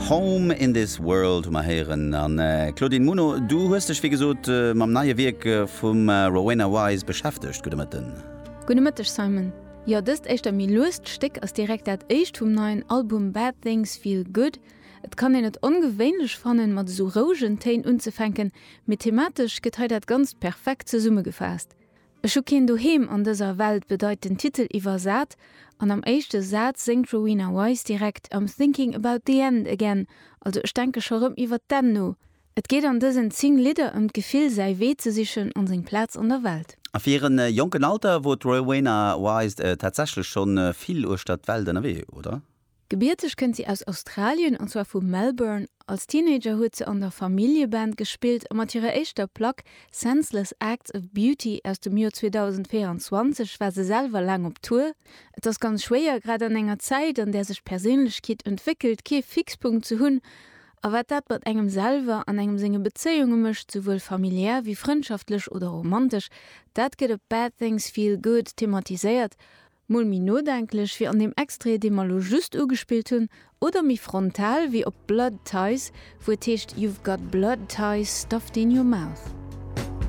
Home in this World hu mer héieren. An Claudine Muno, du hues dech wéi gesot mam neie Wierk vum Rowena Wise beschäftegt. Gudde Mëtten. Gudde Mëtteg Simon. Jo, dëst éischter méi luest Stéck ass direkt dat éischt vum neien Album Bad Things Feel Good. Et kann een et ongewéinlech fannen, mat esou rouegen Téin unzefänken, mee thematesch gëtt hei dat Ganzt perfekt zesummegefaasst. Ech hu keen Doheem an dëser Welt bedeit den Titel iwwersat, an am éischte Saz séngt d'Rowena Wise direkt I'm thinking about the end again, also ech denke scho rëm iwwer d'Enn no. Et geet an dësen 10 Lidder ëm d'Gefill säi Wee ze sichen an seng Plaz an der Welt. A fir hiren jonken Alter wor d'Rowena Wise tatsächlech schonn vill uechter d'Welt ënnerwee, oder? Gebierteg kënnt si aus Australien, an zwar vu Melbourne. Als Teenager huet se an der Familljeband gespillt a mat hirer éischter Plack Senseless Acts of Beauty aus dem Joer 2024 war se selwer laang op Tour. Et ass ganz schwéier, grad an enger Zäit, an där sech d'Perséinlechkeet entwéckelt, kee Fixpunkt ze hunn. A wat dat mat engem selwer an engem senge Bezéiunge mécht, souwuel familiär wéi frëndschaftlech oder romantesch, dat gëtt op Bad Things Feel Good thematiséiert. Mol méi nodenklech wéi an deem Extrait, dee mer lo just ugespillt hunn, oder méi frontal wéi op Blood Ties, wou et heescht You've got blood ties stuffed in your mouth.